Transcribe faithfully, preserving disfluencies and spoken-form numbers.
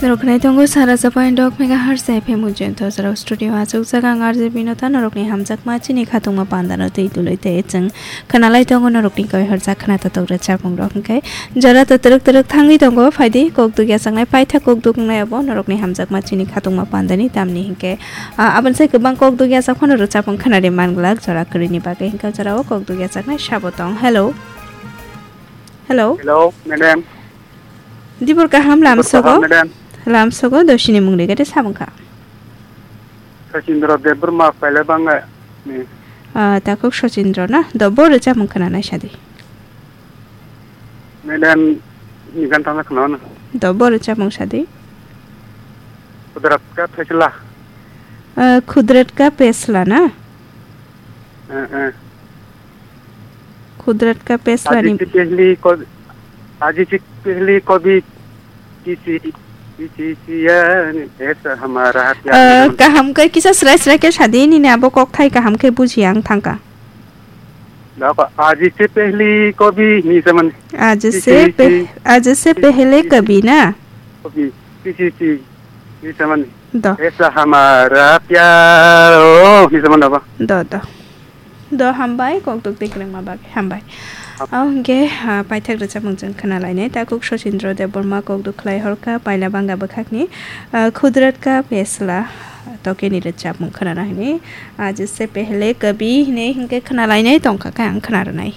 Norok khwnai tongo sara japai dok megahertz F M ujento jorao studio achuk jaga ang R J Binota norokni hamjakma chini khatungma pandano twi tului tei chwng khwnalai tongo norokni koi horjak khwna totok rwchapmung rok hwnkhe jora to twrwk twrwk thangwi tongo phaidi kok dugya changnai paitha kok dugnai abo norokni hamjakma chini khatungma pandani tamni hwnkhe, ah, aboni sai kwbang kok dugya chak phano rwchapmung khwnari manglak jora kwrwini bagwi hwnkhe jorao kok dugya chaknai sabo tong. Hello. Hello. Hello, madam. Dibor kaham Dibor lamsogo? Kaham, madam. Lamsogo dosini mung rigade sabungkha. Sachindra Debbarma paila banga ni. Ah, takhuk Sachindra na? Do bo rwchapmung khwnanai sadi. Madam, ni gan tangna khwnana. Do bo rwchapmung sadi. Kudrat ka faisla. Ah, Kudrat ka faisla na? Eh, eh. Kudrat ka faisla आज ni से पहली कभी, आज से पहली कभी किसी, किसी किया नहीं ऐसा हमारा प्यार Ah, नहीं kaham khe kisa srai srai khe sadi nini abo kok thai kaham khe buji ang thangka. Lako, आज से पहली कभी ni saman. आज से पह-, आज से पहले कभी ना? कभी किसी, किसी ni saman. Do. ऐसा हमारा प्यार हो ni saman ba. Do, do. Do hambai, kok duk tei kwrwngma bagwi hambai. Abo hwnkhe, ah, paithak rwchapmung chwng khwnalainai. Takhuk Sachindra Debbarma kok duk khlai horkha, paila banga bwkhakni, ah, Kudrat ka faisla tokeni rwchapmung khwnana hwnwi. Aaj se pehle kabhi hwnwi hwnkhe khwnalainai tongkha khe ang khwnarwnai.